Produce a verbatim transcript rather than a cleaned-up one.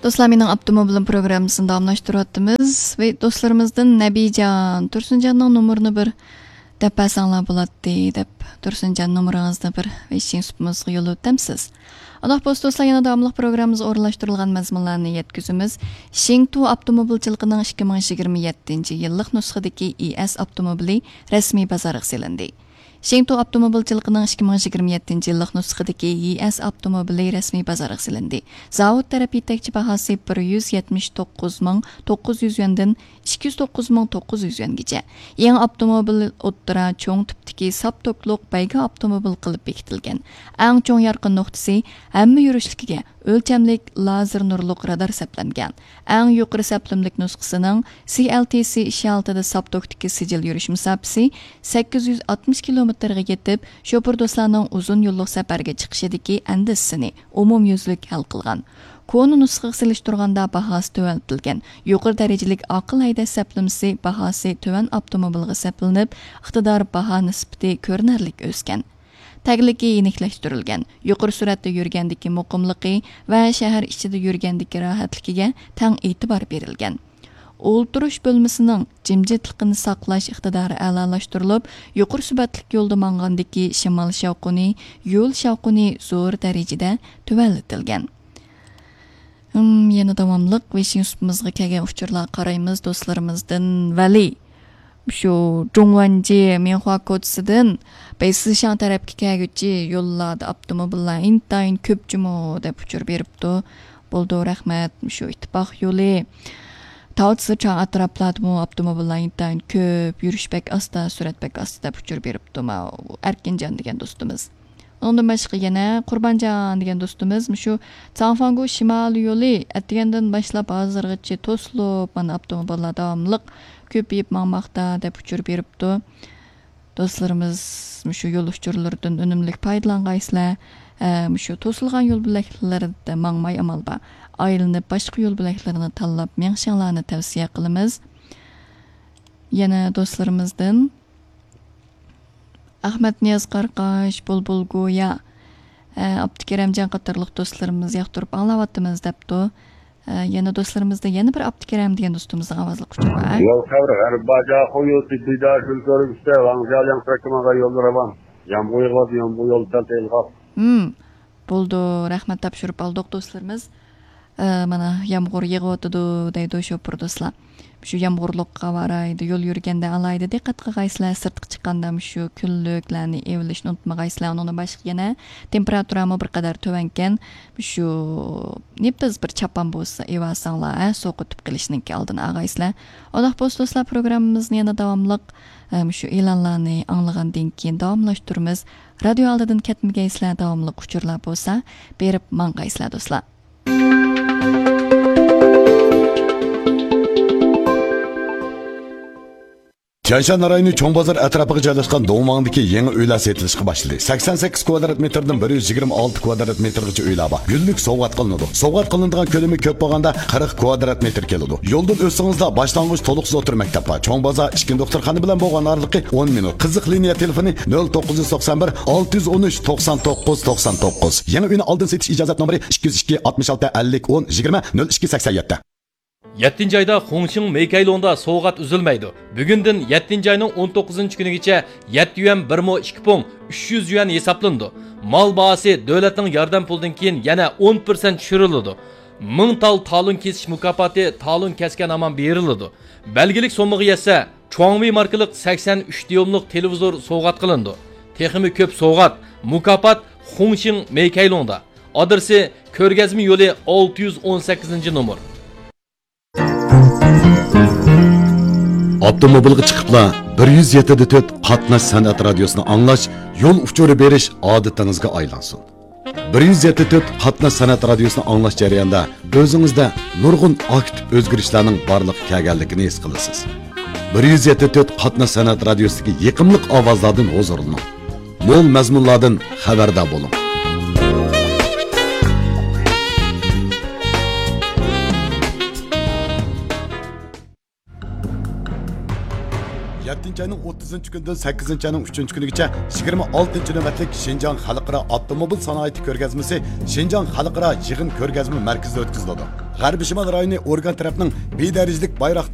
دوستلار، مېنىڭ ئاپتوموبىلىم پروگراممىسىنى داۋاملاشتۇرۇۋاتىمىز. ۋە دوستلىرىمىزدىن نەبىجان، تۇرسۇنجاننىڭ نومۇرىنى بىر دەپ بەرسەڭلار بولاتتى، دەپ، تۇرسۇنجان نومۇرىڭىزنى بىر ۋېيشىن سۇپىمىزغا يوللىۋېتەمسىز؟ ئۇنداق بولسا دوستلار، يەنە داۋاملىق پروگراممىمىزغا ئورۇنلاشتۇرۇلغان مەزمۇنلارنى يەتكۈزىمىز. شېڭتۇ ئاپتوموبىلچىلىقىنىڭ ئىككى مىڭ يىگىرمە يەتتىنچى يىللىق نۇسخىدىكى ئىي ئېس ئاپتوموبىلى رەسمىي بازارغا سېلىندى. شېڭتۇ ئاپتوموبىلچىلىقىنىڭ ئىككى مىڭ يىگىرمە يەتتىنچى يىللىق نۇسخىدىكى يىئەس ئاپتوموبىلى رەسمىي بازارغا سېلىندى. زاۋۇت تەرەپ يېتەكچى باھاسى بىر يۈز يەتمىش توققۇز مىڭ توققۇز يۈز يۈەندىن ئىككى يۈز توققۇز مىڭ توققۇز يۈز يۈەنگىچە. يېڭى ئاپتوموبىل ئوتتۇرا چوڭ تىپتىكى ساپ توكلۇق بەيگە ئاپتوموبىل قىلىپ بېكىتىلگەن. ئەڭ چوڭ يارقىن نۇقتىسى، ھەممە يۈرۈشلۈكىگە ئۆلچەملىك لازېر نۇرلۇق رادار سەپلەنگەن. ئەڭ يۇقىرى سەپلىمىلىك نۇسخىسىنىڭ سى ئەل تى سى ئىككى ئالتىدە ساپ توكتىكى سىجىل يۈرۈش مۇساپىسى سەككىز يۈز ئاتمىش كىلومېتىرغا يېتىپ، شوپۇر دوستلارنىڭ ئۇزۇن يوللۇق سەپەرگە چىقىشىدىكى ئەندىشىسىنى ئومۇميۈزلۈك ھەل قىلغان. كونا نۇسخىغا سېلىشتۇرغاندا باھاسى تۆۋەنلىتىلگەن. يۇقىرى دەرىجىلىك ئاقىل ھەيدەش سەپلىمىسى باھاسى تۆۋەن ئاپتوموبىلغا سەپلىنىپ، ئىقتىدار باھا نىسبىتى كۆرۈنەرلىك ئۆسكەن. تەگلىكى يېنىكلەشتۈرۈلگەن، يۇقىرى سۈرئەتتە يۈرگەندىكى مۇقىملىقى ۋە شەھەر ئىچىدە يۈرگەندىكى راھەتلىكىگە تەڭ ئېتىبار بېرىلگەن. ئولتۇرۇش بۆلمىسىنىڭ جىمجىتلىقىنى ساقلاش ئىقتىدارى ئەلالاشتۇرۇلۇپ، يۇقىرى سۈپەتلىك يولدا ماڭغاندىكى شىمال شاۋقۇنى، يول شاۋقۇنى زور دەرىجىدە تۆۋەنلىتىلگەن. ھىم، يەنە داۋاملىق ۋېيشىن سۇپىمىزغا كەلگەن ئۇچۇرلارغا قارايمىز. دوستلىرىمىزدىن ۋەلى، شۇ جۇڭۋەنجى مىنخۇا كوچىسىدىن بەيسىشاڭ تەرەپكە كەلگۈچى يوللاردا ئاپتوموبىللار ئىنتايىن كۆپ جۇمۇ دەپ ئۇچۇر بېرىپتۇ. بولىدۇ، رەھمەت. شۇ ئىتتىپاق يولى، تاۋ سىچاڭ ئەتراپلاردىمۇ ئاپتوموبىللار ئىنتايىن كۆپ، يۈرۈش بەك ئاستا، سۈرئەت بەك ئاستا دەپ ئۇچۇر بېرىپتۇ ماۋۇ ئەركىنجان دېگەن دوستىمىز. ئۇنىڭدىن باشقا يەنە قۇربانجان دېگەن دوستىمىز مۇشۇ چاڭفاڭگو شىمالىي يولى ئەتىگەندىن باشلاپ ھازىرغىچە توسۇلۇپ، مانا، ئاپتوموبىللار داۋاملىق كۆپىيىپ ماڭماقتا دەپ ئۇچۇر بېرىپتۇ. دوستلىرىمىز مۇشۇ يول ئۇچۇرلىرىدىن ئۈنۈملۈك پايدىلانغايسىلەر. ئە، مۇشۇ توسۇلغان يول بۆلەكلىرىدە ماڭماي ئامال بار، ئايلىنىپ باشقا يول بۆلەكلىرىنى تاللاپ مېڭىشىڭلارنى تەۋسىيە قىلىمىز. يەنە دوستلىرىمىزدىن ئەخمەت نىياز قارقاش، بۇلبۇل گويا، ئە، ئابدۇكېرەمجان قاتارلىق دوستلىرىمىز ياقتۇرۇپ ئاڭلاۋاتىمىز دەپتۇ. ئە، يەنە دوستلىرىمىزدا يەنە بىر ئابدۇكېرەم دېگەن دوستىمىزنىڭ ئاۋازلىق ئۇچۇرى بار. 有开始，还是八家后又去对大水做了个事，往下两边去嘛个有了吧？养不会了，养不会了，再再了。 ھىم، بولدى، رەھمەت تاپشۇرۇپ ئالدۇق دوستلىرىمىز. ئە، مانا يامغۇر يېغىۋاتىدۇ دەيدۇ شوپۇر دوستلار. شۇ يامغۇرلۇق ھاۋا رايىدا يول يۈرگەندە ئالاھىدە دىققەت قىلغايسىلەر، سىرتقا چىققاندا مۇشۇ كۈنلۈكلەرنى ئېۋىلىشنى ئۇنتۇمىغايسىلەر. ئۇنىڭدىن باشقا يەنە تېمپېراتۇرامۇ بىر قەدەر تۆۋەنكەن. شۇ نېپىز بىر چاپان بولسا ئېۋەلسەڭلار، ھە، سوقۇتۇپ قېلىشنىڭكى ئالدىنى ئالغايسىلەر. ئۇنداق بولسا دوستلار، پروگراممىمىزنى يەنە داۋاملىق، ئە، مۇشۇ ئېلانلارنى ئاڭلىغاندىن كېيىن داۋاملاشتۇرىمىز. رادىيو ئالدىدىن كەتمىگەيسىلەر، داۋاملىق ئۇچۇرلار بولسا بېرىپ ماڭغايسىلەر دوستلار. تيەنشان رايونى چوڭ بازار ئەتراپىغا جايلاشقان دۇڭۋاڭدىكى يېڭى ئۆيلەر سېتىلىشقا باشلىدى. سەكسەن سەككىز كۋادرات مېتىردىن بىر يۈز يىگىرمە ئالتە كۋادرات مېتىرغىچە ئۆيلەر بار. گۈللۈك سوۋغات قىلىنىدۇ. سوۋغات قىلىنىدىغان كۆلىمى كۆپ بولغاندا قىرىق كۋادرات مېتىر كېلىدۇ. يولدىن ئۆتسىڭىزلا باشلانغۇچ تولۇقسىز ئوتتۇرا مەكتەپ بار. چوڭ بازار ئىچكى دوختۇرخانا بىلەن بولغان ئارىلىقى ئون مىنۇت. قىزىق لىنىيە تېلېفونى نۆل توققۇز يۈز توقسان بىر، ئالتە يۈز ئون ئۈچ، توقسان توققۇز، توقسان توققۇز. يېڭى ئۆينى ئالدىن سېتىش ئىجازەت نومۇرى ئىككى يۈز ئىككى، ئاتمىش ئالتە، ئەللىك، ئون، يىگىرمە، نۆل ئىككى، سەكسەن يەتتە. يەتتىنچى ئايدا خۇڭشىڭ مېيكەيلۇڭدا سوۋغات ئۈزۈلمەيدۇ. بۈگۈندىن يەتتىنچى ئاينىڭ ئون توققۇزىنچى كۈنىگىچە يەتتە يۈەن بىر مو ئىككى پۇڭ ئۈچ يۈز يۈەن ھېسابلىنىدۇ. مال باھاسى دۆلەتنىڭ ياردەم پۇلىدىن كېيىن يەنە ئون پىرسەنت چۈشۈرۈلىدۇ. مىڭ تال تالون كېسىش مۇكاپاتى تالون كەسكەن ھامان بېرىلىدۇ. بەلگىلىك سوممىغا يەتسە، چۇاڭۋېي ماركىلىق سەكسەن ئۈچ دىيۇملۇق تېلېۋىزور سوۋغات قىلىنىدۇ. تېخىمۇ كۆپ سوۋغات، مۇكاپات خۇڭشىڭ مېيكەيلۇڭدا. ئادرېسى: كۆرگەزمە يولى، ئالتە يۈز ئون سەككىزىنچى نومۇر. ئاپتوموبىلغا چىقىپلا بىر يۈز يەتتە دە تۆت قاتناش سەنئەت رادىيوسىنى ئاڭلاش، يول ئۇچۇرى بېرىش ئادىتىڭىزگە ئايلانسۇن. بىر يۈز يەتتە تۆت قاتناش سەنئەت رادىيوسىنى ئاڭلاش جەريانىدا ئۆزىڭىزدە نۇرغۇن ئاكتىپ ئۆزگىرىشلەرنىڭ بارلىققا كەلگەنلىكىنى ھېس قىلىسىز. بىر يۈز يەتتە تۆت قاتناش سەنئەت رادىيوسىدىكى يېقىملىق ئاۋازلاردىن ھۇزۇرلىنىڭ. مول مەزمۇنلاردىن خەۋەردار بولۇڭ. يەتتىنچى ئاينىڭ ئوتتۇزىنچى كۈنىدىن سەككىزىنچى ئاينىڭ ئۈچىنچى كۈنىگىچە يىگىرمە ئالتىنچى نۆۋەتلىك شىنجاڭ خەلقئارا ئاپتوموبىل سانائىتى كۆرگەزمىسى شىنجاڭ خەلقئارا يىغىن كۆرگەزمە مەركىزىدە ئۆتكۈزۈلىدۇ. غەربىي شىمال رايونى ئورگان تەرەپنىڭ بى دەرىجىلىك بايراقدار